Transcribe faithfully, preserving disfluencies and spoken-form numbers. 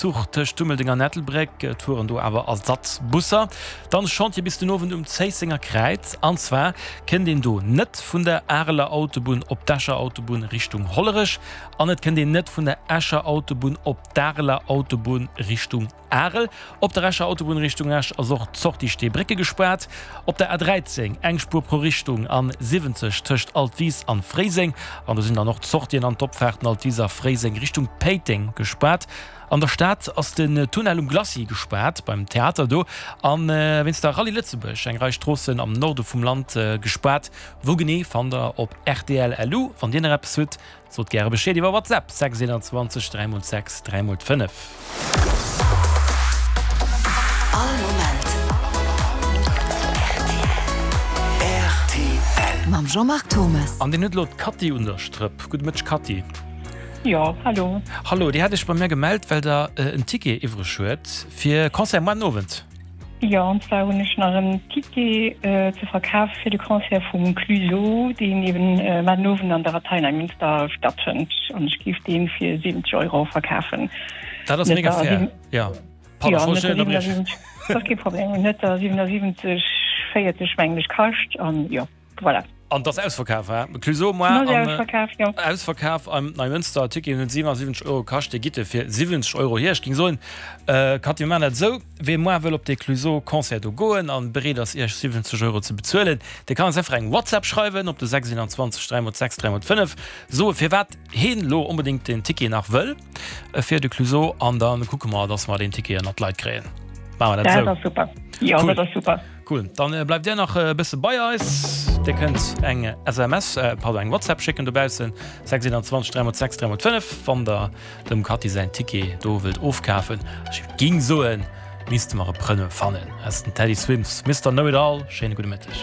Zuch tëscht Dummeldeng an Ettelbréck, et fueren do awer Ersatzbusser. Dann Chantier bis den Owend um Zéissenger Kräiz, an zwar kënnt een do net vun der Areler Autobunn op d'Escher Autobunn Richtung Hollerech an et kënnt een net vun der Escher Autobunn op d'Areler Autobunn Richtung Arel. Op der Escher Autobunn Richtung Esch ass och d'Sortie Steebrécke gespaart. Op der A dräizéng eng Spuer pro Richtung an siwwenzeg tëscht Altwis an Fréiseng an do sinn dann och d'Sortien an d'Opfaarten Altwis a Fréiseng Richtung Péiteng gespaart. An der Stad ass den Tunnel um Glacis gespaart, beim Theater do, an wéinst der Rallye Lëtzebuerg eng Rei Stroossen am Norde vum Land gespaart. Wou genee fannt der op rtl lu. Wann dir nach eppes hutt, sot gäre Bescheed iwwer WhatsApp, sechs eenanzwanzeg dräi mol sechs dräi mol fënnef. All Moment rtl. Mam Jean-Marc Thomes. An deen huet elo d'Cathy un der Strëpp. Gudde Mëtteg Cathy. Jo, hallo. Hallo, Dir hat Iech bei mir gemellt, well Der en Ticket iwwreg huet fir Concert moar den Owend. Jo, an zwar hunn ech nach en Ticket ze verkafe fir de Concert vum Clueso, deen eben mar den Owend an der Abtei Neimënster stattfënnt. An ech géif dee fir siwwenzeg Euro verkafen. Dat ass mega fair, jo. Pardon, ech wollt dech net ënnerbriechen. Dat ass kee Problem. Net der siwenasiwwenzeg véierzeg mengen ech kascht an jo. Voilà. An 't ass ausverkaf, he? Clueso moar an ausverkaf am Neimënster. Ticketen hunn siwenasiwwenzeg Euro kascht. Dir gitt e fir siwwenzeg Euro hier. Ech géing soen, Cathy, mir maachen dat esou, Wee moar wëll op dee Clueso-Concert do goen an bereet ass, Iech siwwenzeg Euro ze bezuelen, dee kann eis einfach eng WhatsApp schreiwen op de sechs eenanzwanzeg dräi mol sechs dräi mol fënnef, soe firwat heen elo onbedéngt deen Ticket nach wëll fir de Clueso an da kucke mer, dass mer deen Ticket ënnert d'Leit kréien. Maache mer dat esou? Dat ass super. Jo, dat ass super. Cool, dann bleift dir nach e bësse bei eis. Dir kënnt eng S M S, pardon, eng WhatsApp schécken dobaussen, sechs eenanzwanzeg dräi mol sechs dräi mol fënnef, wann der dem Cathy säin Ticket do wëllt ofkafen. Ech ging soen, misste mer e Preneur fannen. Aus den Teddy Swims, Mister Know It All. Schéine gudde Mëtteg.